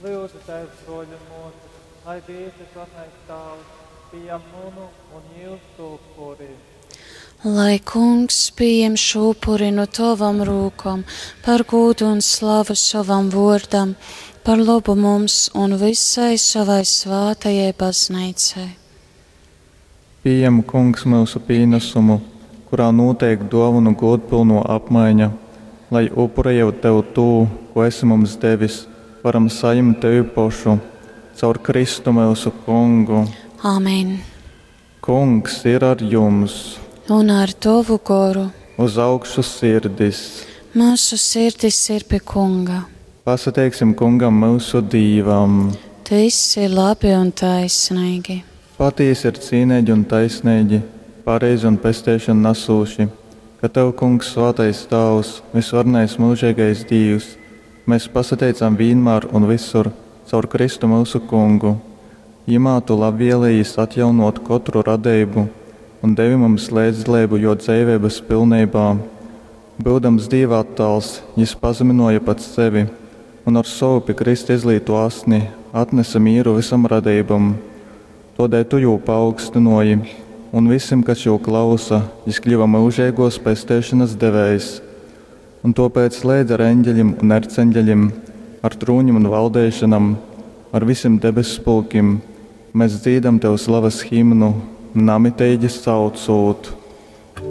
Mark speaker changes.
Speaker 1: Lyudzu Tēvs, brōļi un mōsas, lai Dievs visvarenais Tāvs pieņem munu un jūsu upuri.
Speaker 2: Lai kungs pieņem šo upuri no tavam rūkam, par gūdu un slavu savam vōrdam, par labu mums un visai savai svātajai baznīcai.
Speaker 3: Pījem, Kungs, myusu pīnasumu, kurā nūteik dōvonu gūdpylnō apmaiņa, lai, upurejūt tev tū, kū esi mums devis, varam sajimt tevi pošu. Caur Kristu myusu Kungu.
Speaker 2: Amen.
Speaker 3: Kungs ir ar jums!
Speaker 2: Un ar tovu goru.
Speaker 3: Uz augšu sirdis!
Speaker 2: Myusu sirdis ir pi Kunga.
Speaker 3: Pasateiksim Kungam myusu Dīvam!
Speaker 2: Tys ir labi un taisneigi.
Speaker 3: Patīsi ir cīneigi un taisneigi, pareizi un pesteišonu nasūši, ka tev, Kungs, svātais Tāvs, vysvarenais myužeigais Dīvs, mes pasateicam vīnmār un vysur caur Kristu myusu Kungu. Jymā tu labvēlejīs atjaunōt kotru radeibu un devi mums leidzdaleibu jō dzeiveibas pilneibā. Byudams Dīva attāls, jys pazamynōja pats sevi un ar sovu pi krysta izlītū asni atnese mīru vysam radeibom. Tōdēļ tu jū paaugstynōji, un vysim, kas jū klausa, jys kļyva myužeigōs pesteišonas devējs. Un tōpēc leidz ar eņgelim un erceņgelim, ar trūnim un valdeišonam, ar vysim debesspulkim mes dzīdam tev slavas himnu, namiteigi saucūt.